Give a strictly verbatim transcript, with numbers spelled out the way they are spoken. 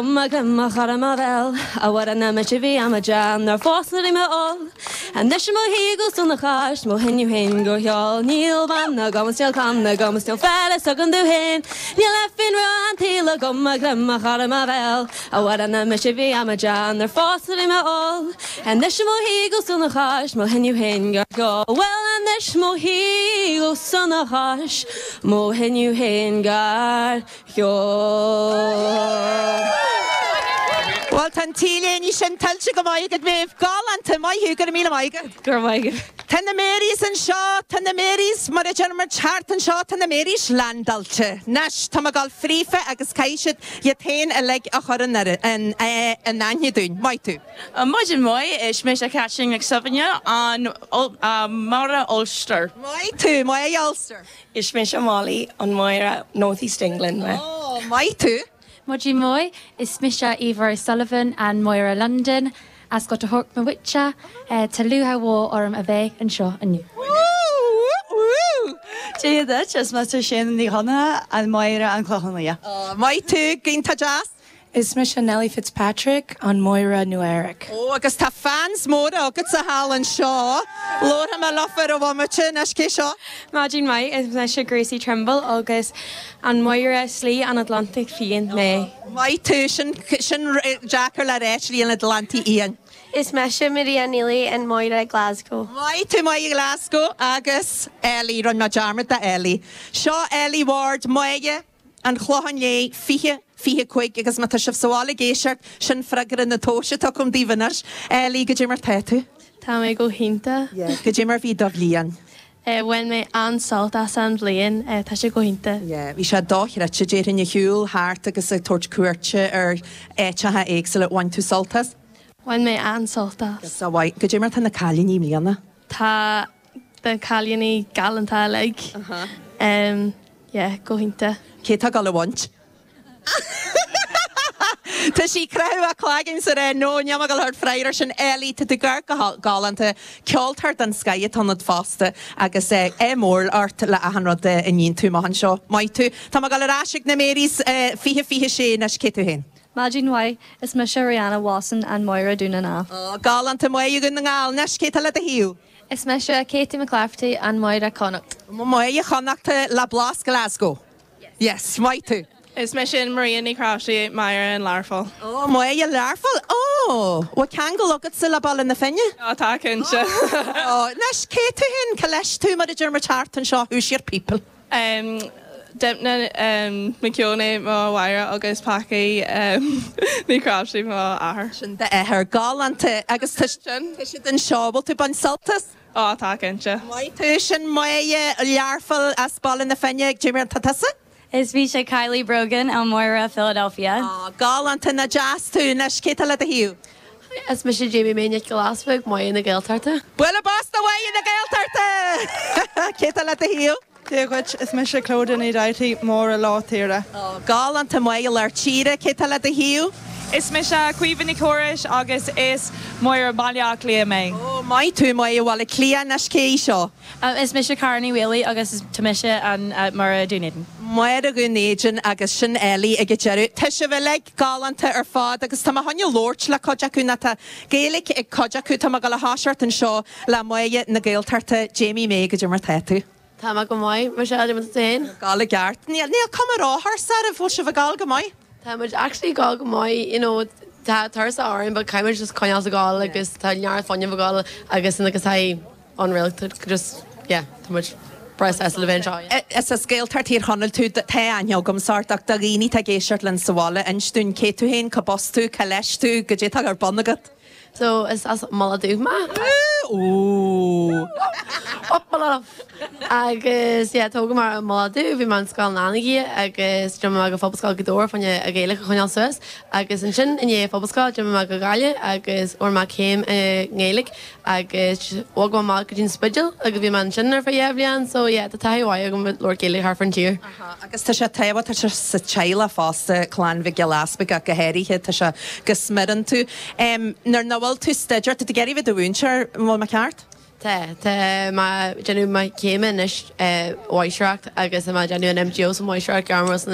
Mo chara mo bhéal a bhar na me bhí am jan ar fásna me all. Anois mo shuí go sona cháis mo thinniu hin go heol níl ban na gomas níl can na gomas níl feile a gan du hin Níl le fin an tíle go ma glem a chara ma bhéal a bhar na me bhí am jan ar fásna me all. Anois mo shuí go sona cháis mo thinniu hin go heol Well anois mo shuí go sona cháis mo thinniu hin gar heol. Well tá tíléí sin tuillte go maith go mh galánta maith go míle maige. Gur maige. Tá na Marys anseo tá na Marys mar a mar teart anseo tá na Marys landailte. Anois tá gáil frífa agus caiisiad iad féin a le a chur an an aithne dúinn, Maith tú. Maidin mhaith is mise Catherine McSuibhne an Máire Ulster. Maith tú Máire Ulster. Is mise Molly an Máire North East England mé. Oh, maith tú. Maidin mhaith is mise Eva Sullivan an Máire London as go Thork Mawitcha Tá lúcháir mhór orm a bheith anseo inniu. Dia duit is mise sin ní chona an Máire an Clochán Liath. Maith tú iontach deas? Is mise Nellie Fitzpatrick an Máire Nua-Eabhrac. Ó agus tá fans móra agat sa hall anseo. Lótha me lofar a bhatte na cé seo? Maidin mhaith is mise Gracie Trimble agus an Máire Slí an Atlantic Fiáin mé. Maith tú sin sin deacair le rá Slí an Atlantaigh Fhiáin. Is mise Maria Neely an Máire Glasgow. Maith tú Máire Glasgow agus Ellie rinne mé dearmad de Ellie. Seo Ellie Ward Máire an Chlocháin Léith fiche fiche cúig agus má tá sibh sa bhaile ag éisteacht sin freagra na tomhaise agam daoibh anois. Ellie goidé mar tá tú? Tá mé go hiontach. Goidé mar bhí do bhliain. Bhain mé an-sult as an bhliain tá sé go hiontach. Bhí sé dochreidte déarfainn ag siúl thart agus ag tabhairt cuairte ar áiteacha éagsúla bhain tú sult as? Bhain mé an-sult as. Sa mhaith goidé mar tá na cailíní i mbliana? Tá na cailíní galánta uilig. Um, yeah, go hiontach. Cé tá ag gabháil a bhaint? Tá sí creú a chlagin sa ré nó neama go thir freir sin eí tu gar go galánta ceoltóir den scoth ionat fosta agus é mór ort le achan rud a ndéanann tú amach anseo. Maith tú Tá go leis na Marys fiche fiche sé na cé tú féin. Maidin mhaith is mise Rihanna Watson an Máire Dún na Gall. Galánta Máire Dhún na nGall anois cé tá le do thaobh. Is mise Katie McClafferty an Máire Connacht. Máire Chonnachta le blas Glasgow. Yes, maith tú. Is mise sin Maria Ní Crashí Máire an Learpholl. Ó Máire Learpholl ó bhfuil ceangal agat sa le Baile na Finne? Á tá cinnte. Anois cé tú féin cá leis tú mar a deir mar teart anseo who's your people. Um, Demna um, McKeown mo mháthair agus Packy um, Ní Crashí mo athair. Sin d'athair galánta agus tá siad anseo bhfuil tú ag baint sult as? Á tá cinnte. Maith tú sin Máire Learpholl as Baile na Finne Jimmy tá tusa? Is mise Kylie Brogan an Máire Philadelphia. Galánta nach deas tú anois cé tá le do thaobh. Is mise Jamie Méine Glasbeg Máire na Gaeltachta. Bualadh bos do Mháire na Gaeltachta! Cé tá le do thaobh? Dia dhuit is mise Clóda ní daití Máire Lár Tíre. Galánta Máire Lár Tíre cé tá le do thaobh? Is mise Caoimhe Ní Chórais agus is Máire Baile Átha Cliath mé. Ó maith tú Máire Bhaile Átha Cliath anois cé seo. Is mise Carney Whaley agus tá mise an Máire Dún Éideann. Máire Dhún Éideann agus sin Ellie ag deireadh. Tá sibh uilig galánta ar fad agus tá chun labhairt le cuid acu na tá Gaeilge ag cuid acu tá go le háiseart anseo le Máire na Gaeltachta Jamie May goidé mar tá tú. Tá go maith mar se féin. Gála ceart Níl níl cuma áthir sa a bhfuil sibh ag gabháil go maith? Tá muid actually ag gabháil go maith you know, tá tuirse orainn, but caithfidh just coinneáil ag gabháil agus tá neart fuinnimh ag gabháil agus agus tá unreal just yeah, tá muid breá le bheith anseo. Is as Gaeltacht Thír Chonaill tú tá aithne agam ort ach do dhaoine atá ag éisteacht linn sa bhaile inis dúinn cé tú féin cá bhas tú cá leis tú goidé tá ar bun agat. So is as Mullach Dubh mé? Ó. Agus yeah, tógadh mé i Mullach Dubh, bhí mé in Scoil na Anagaire agus d'imigh mé go Phobalscoil Ghaoth Dobhair fá choinne an Ghaeilge a choinneáil suas agus ansin i ndiaidh Phobalscoil d'imigh mé go Gaillimh agus fuair mé céim i nGaeilge agus bhog mé amach go dtí an Spidéal agus bhí mé ansin ar feadh dhá bhliain so yeah, tá taithí mhaith agam labhairt Gaeilge thart fán tír. Agus tá sé tábhachtach tá sé sa teaghlach fosta clann Mhic Giolla Easpaig ach go háirithe tá sé go smior iontu. Um, nuair nach bhfuil tú ag staidéar tá tú ag iarraidh bheith i do mhúinteoir bhfuil mé ceart? Tá tá mé ag déanamh mo chéime anois mháistreacht agus mé ag déanamh an MGO sa mháistreacht gairmiúil san